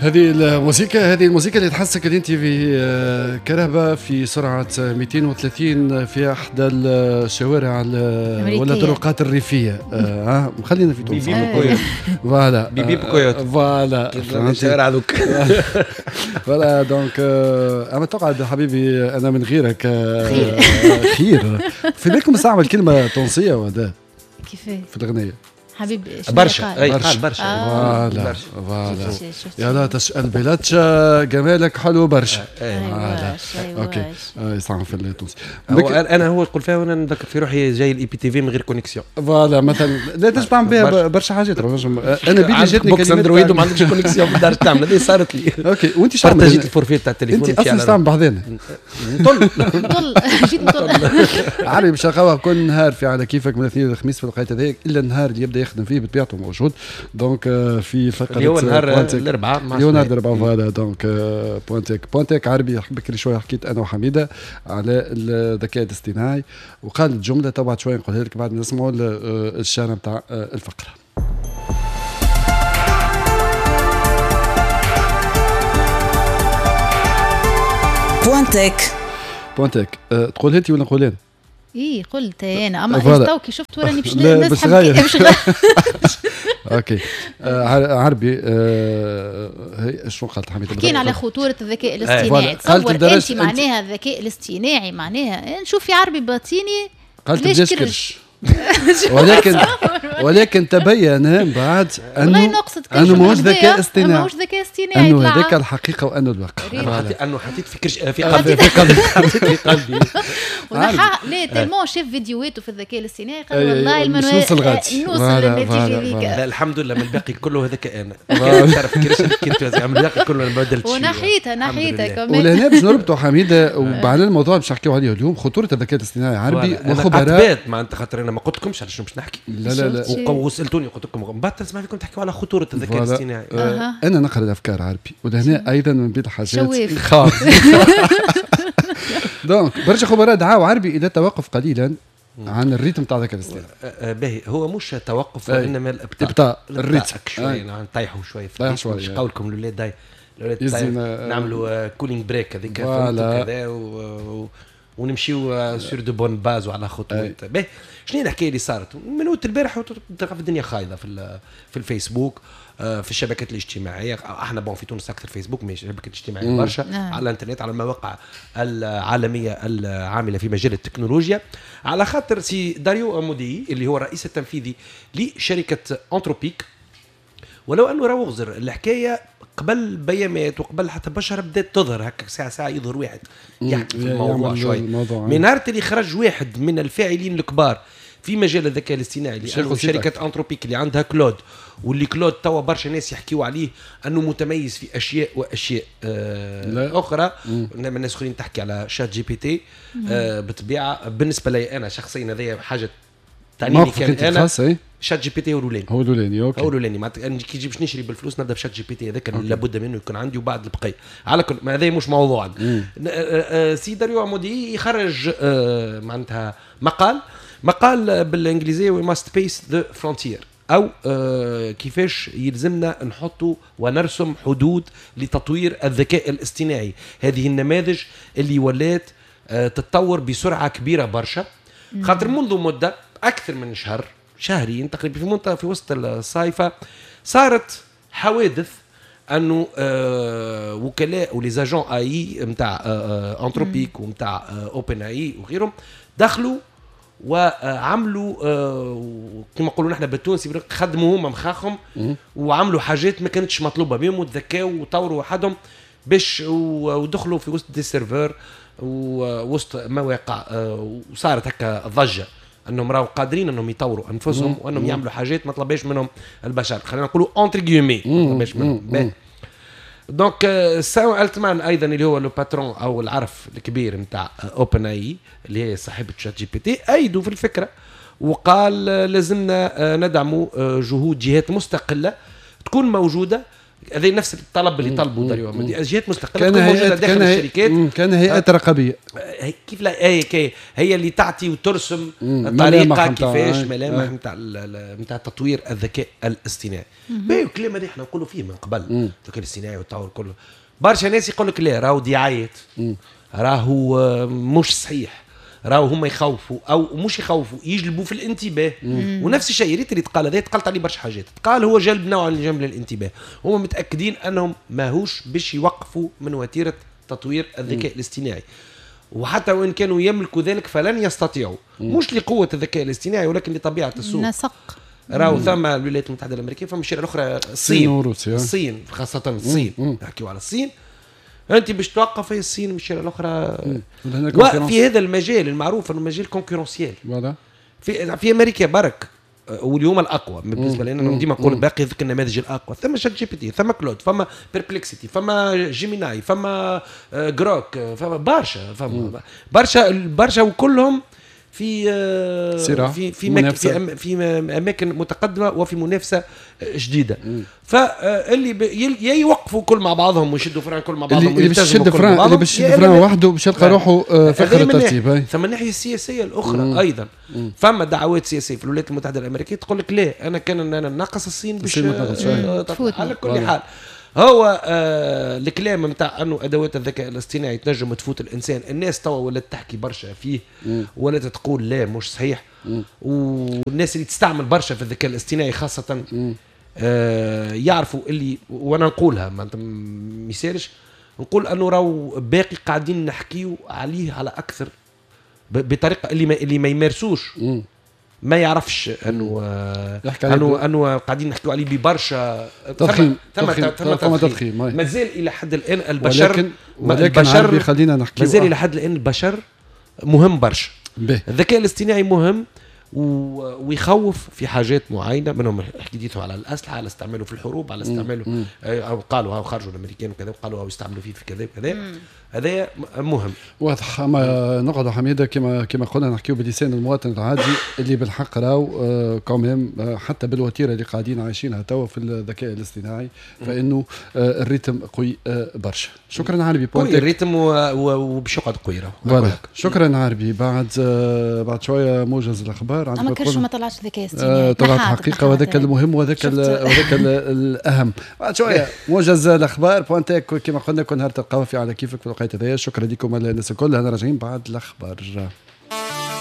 هذه الموسيقى، هذه الموسيقى اللي تحسك اللي انت في كرهبة في سرعة 230 في احدى الشوارع ولا الطرقات الريفية. خلينا في تونس. voilà بيبي بكويوت. voilà الشوارع هذوك. voilà donc اما تقعد حبيبي انا من غيرك خير. في بالكم استعمل كلمة تونسية ولا كيفاه في الأغنية؟ حبيبي برشا، اي قال برشا. voilà voilà يا لا تسأل بلاتشا جمالك حلو برشا. voilà OK يستعمل في التونسي. انا هو يقول فيها وانا نذكر في روحي جاي ال IPTV من غير connexion. voilà مثلا لا تنجم تعمل بها برشا حاجات. انا بيدي جاتني box Android وما عندكش connexion في الدار تعمل، هذه صارت لي. OK وانت شو partagيت ال forfait تاع التليفون؟ انت اصلا تعمل بحذانا نطل نطل جيت نطل عربي باش نلقاوها كل نهار في على كيفك من الاثنين للخميس في الوقت هذاك الا النهار اللي يبدا يخدم فيه بطبيعته موجود. donc في فقره اللي هو نهار الاربعاء، اللي هو نهار الاربعاء. voilà donc point tech، point tech عربي بكري شوية حكيت انا وحميده على الذكاء الاصطناعي وقالت جملة تبعت شوية نقولها لك بعد ما نسمعوا الشارع نتاع الفقرة. point tech، point tech تقول انت ولا نقول انا؟ ايه قلت انا، اما تو كي شفت وراني باش نسحب باش OK عربي هي شنو قالت حميده؟ حكينا على خطورة الذكاء الاصطناعي. تصور انت معناها الذكاء الاصطناعي معناها نشوف في عربي باطيني قالت بلاش كرش ولكن تبين من بعد انه ماهوش ذكاء اصطناعي، ماهوش ذكاء اصطناعي، انه هذاك الحقيقة وانه الواقع. انه حطيت في كرش في قلبي، حطيت في قلبي لا tellement شاف فيديوهاته في الذكاء الاصطناعي قال والله المنوال نوصل غادي نوصل للنتيجة هذيك. لا الحمد لله من الباقي كله هذاك انا تعرف كرش كنت من الباقي كله انا ما بدلتش ونحيتها نحيتها كمان. ولهنا باش نربطوا حميده وعلى الموضوع باش نحكيو عليه اليوم، خطورة الذكاء الاصطناعي عربي وخبراء. معناتها خاطر انا ما قلت لكمش على شنو باش نحكي. لا لا لا وسالتوني قلت لكم بعد تسمع فيكم تحكيوا على خطورة الذكاء الاصطناعي. انا نقرا الافكار عربي ولهنا ايضا من بين الحاجات خاص. donc برشا خبراء دعاوا عربي الى التوقف قليلا عن ال rythme تاع الذكاء الاصطناعي. باهي هو مش توقف وانما الابطاء، ابطاء ال rythme شوية، نطيحوا شوية في مش قولكم الاولاد الاولاد نعملوا cooling break هذيك كذا ونمشيو sur de bonnes bases وعلى خطوات. باهي شنو هي الحكاية اللي صارت من وقت البارح؟ تلقى في الدنيا خايضه في الفيسبوك، في الشبكات الاجتماعية. احنا bon في تونس اكثر فيسبوك مش الشبكات الاجتماعية برشا، على الانترنت، على المواقع العالمية العاملة في مجال التكنولوجيا. على خاطر سي داريو امودي اللي هو الرئيس التنفيذي لشركة Anthropic، ولو انه راهو غزر الحكاية قبل بيامات وقبل حتى بشر بدات تظهر هكا ساعة ساعة يظهر واحد يحكي في الموضوع شوي. من نهار اللي خرج واحد من الفاعلين الكبار في مجال الذكاء الاصطناعي لانه شركة Anthropic اللي عندها Claude، واللي Claude توا برشا ناس يحكيوا عليه انه متميز في اشياء واشياء اخرى. انما الناس اخرين تحكي على ChatGPT. بالطبيعة بالنسبة لي انا شخصيا هذه حاجة تعنيني كان انا ChatGPT هو الاولاني، هو الاولاني. OK هو الاولاني معناتها انا كي باش نشري بالفلوس نبدا ب ChatGPT هذاك لابد منه يكون عندي وبعد البقية. على كل ما هذا مش موضوع. سي داريو امودي يخرج معناتها مقال بالانجليزية we must pace the frontier، او كيفاش يلزمنا نحطوا ونرسم حدود لتطوير الذكاء الاصطناعي. هذه النماذج اللي ولات تتطور بسرعة كبيرة برشا، خاطر منذ مده اكثر من شهر شهرين تقريبا في منطقة في وسط الصيفه صارت حوادث انه وكلاء و les agents AI نتاع Anthropic ونتاع OpenAI وغيرهم دخلوا وعملوا كما نقولوا نحن بالتونسي خدموا هما مخاخهم وعملوا حاجات ما كانتش مطلوبه بهم وتذكاوا وطوروا وحدهم باش ودخلوا في وسط des serveurs ووسط مواقع، وصارت هكا ضجه انهم راهو قادرين انهم يطوروا انفسهم وانهم يعملوا حاجات ما طلبهاش منهم البشر، خلينا نقولوا entre guillemets ما طلبهاش منهم. donc سام التمان ايضا اللي هو le patron او العرف الكبير نتاع OpenAI اللي هي صاحبه ChatGPT ايدوا في الفكرة وقال لازمنا ندعموا جهود جهات مستقلة تكون موجودة هذا نفس الطلب اللي طلبوا داريو جهات مستقلة تكون موجودة داخل الشركات. كان هيئات رقابية كيف لا، هي اللي تعطي وترسم طريقه كيفاش ملامح نتاع تطوير الذكاء الاصطناعي. باهي الكلام هذا احنا نقولوا فيه من قبل، الذكاء الاصطناعي والتطور كله. برشا ناس يقول لك لا راهو دعايات، راهو مش صحيح، راهو هما يخوفوا او مش يخوفوا، يجلبوا في الانتباه. ونفس الشيء ريت اللي تقال هذا، تقالت عليه برشا حاجات، تقال هو جلب نوع من جلب الانتباه. هما متاكدين انهم ماهوش باش يوقفوا من وتيرة تطوير الذكاء الاصطناعي، وحتى وان كانوا يملكوا ذلك فلن يستطيعوا، مش لقوه الذكاء الاصطناعي ولكن لطبيعة السوق. نسق راهو ثم الولايات المتحدة الامريكية، فما الشيء الاخرى الصين وروسيا، الصين خاصة الصين، نحكيو على الصين. انت باش توقف هي الصين من الشيء الاخرى. وفي هذا المجال المعروف انه مجال concurrentiel في امريكا برك، واليوم الاقوى بالنسبة لنا ديما نقول باقي ذيك النماذج الاقوى. ثم ChatGPT، ثم Claude، فما Perplexity، فما Gemini، فما Grok، فما برشا، فما برشا برشا، وكلهم في في في في, في اماكن متقدمة وفي منافسه جديدة. فاللي يا يوقفوا كل مع بعضهم ويشدوا frein كل مع بعضهم، اللي باش يشد frein، اللي باش يشد frein وحده باش يلقى روحه في اخر الترتيب. ثم الناحية السياسية الاخرى ايضا فما دعوات سياسية في الولايات المتحدة الامريكية تقول لك لا، انا كان انا ناقص الصين باش على كل حال هو الكلام نتاع انه ادوات الذكاء الاصطناعي تنجم تفوت الانسان، الناس توا ولات تحكي برشا فيه، ولات تقول لا مش صحيح. والناس اللي تستعمل برشا في الذكاء الاصطناعي خاصة يعرفوا اللي، وانا نقولها ما يسالش نقول انه راهو باقي قاعدين نحكيو عليه على اكثر بطريقة اللي ما يمارسوش ما يعرفش انه انه قاعدين نحكيو عليه ببرشا تضخيم، ثم تضخيم. مازال الى حد الان البشر، ولكن البشر خلينا نحكي، مازال الى حد الان البشر مهم برشا. الذكاء الاصطناعي مهم ويخوف في حاجات معينة، منهم حكيتوا على الاسلحة، على استعماله في الحروب، على استعماله او قالوا او خرجوا الامريكان وكذا وقالوا او يستعملوا فيه في كذا وكذا. هذا مهم واضح. اما نقعد حميده كما قلنا نحكيو بلسان المواطن العادي اللي بالحق راهو quand même حتى بالوتيره اللي قاعدين عايشينها توا في الذكاء الاصطناعي، فانه ال rythme قوي برشا. شكرا عربي، قوي ال rythme وباش يقعد قوي راهو. شكرا عربي. بعد شوية موجز الاخبار. اما كرشو ما طلعش ذكاء اصطناعي، طلعت حقيقة، وهذاك المهم وهذاك الاهم. بعد شوية موجز الاخبار Point Tech كما قلنا كل نهار تلقاوها في على كيفك في الوقت هذايا. شكرا لكم الناس الكل، انا راجعين بعد الاخبار.